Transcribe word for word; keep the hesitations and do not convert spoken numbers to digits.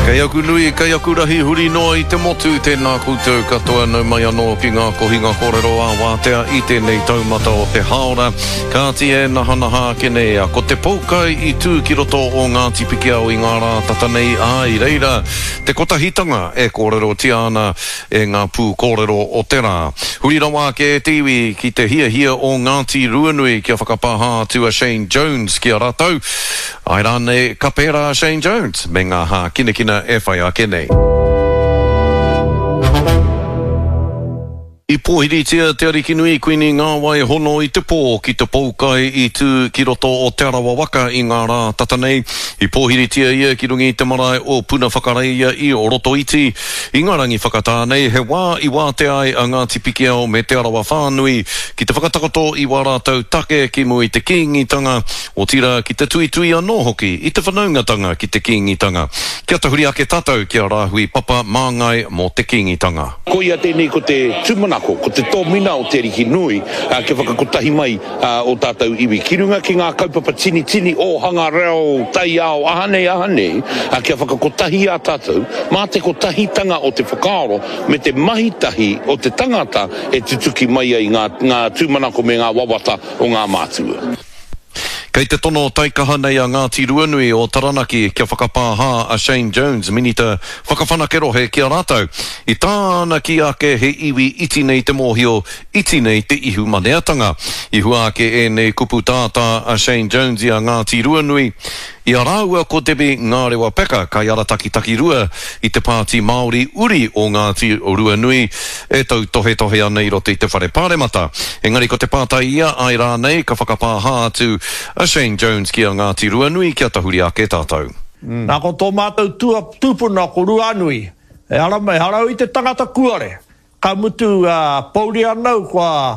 Kei aku nui, kei aku rahi huri noa i te motu, tēnā koutou katoa nau mai anō ki ngā kohinga kōrero ā-wātea i tēnei taumata o te hāora. Kāti e nahanaha ake nei, a ko te poukai i tū ki roto o Ngāti Pikiao i ngā rā tata nei, ā, i reira te kotahitanga e kōrerotia ana e ngā pū kōrero o te rā. Huri rawa ake e te iwi ki te hiahia o Ngāti Ruanui kia whakapāha atu a Shane Jones ki a rātou. Āe rānei ka pērā a Shane Jones me ngā hākinakina e whai ake nei. I pōhiritia te Arikinui Kuini Ngāwai Hono i te pō ki te poukai i tū ki roto o Te Arawa waka i ngā rā tata nei. I pōhiritia ia ki runga i te marae o Punawhakareia i Rotoiti. I ngā rangi whakatā nei, he wā i wātea ai a Ngāti Pikiao me Te Arawa whānui ki te whakatakoto i wā rātou take ki mua i te Kīngitanga, otirā ki te tuitui anō hoki i te whanaungatanga ki te Kīngitanga. Kia tahuri ake tātou ki a Rāhui Papa Māngai mō te Kīngitanga. Koia tēnei ko te tūmanako, ko te tōmina o Te Ariki Nui kia whakakotahi mai ō tātou iwi ki runga ki ngā kaupapa tinitini, ōhanga reo, taiao, aha nei, aha nei, kia whakakotahi i a tātou mā te kotahitanga o te whakaaro me te mahi tahi o te tangata e tutuki mai ai ngā ngā tūmanako me ngā wawata o ngā mātua. Kei te tono taikaha nei a Ngāti Ruanui o Taranaki kia whakapāha a Shane Jones, Minita Whakawhanake Rohe ki a rātou. I tāna kī ake he iwi iti nei te mōhio, iti nei te ihumaneatanga. I hua ake ēnei kupu tātā a Shane Jones i a Ngāti Ruanui, I a rāua ko Debbie Ngārewa Peka, kaiarataki takirua i te Pāti Māori uri o Ngāti Ruanui, e tautohetohe ana i roto i te Whare Pāremata. Engari ko te pātai ia, āe rānei ka whakapāha atu a Shane Jones ki a Ngāti Ruanui kia tahuri ake tātou. Nā, ko tō mātou tūpuna ko Ruanui, ehara, ehara au i te tangata kuare, ka mutu, pōuri ana au kua.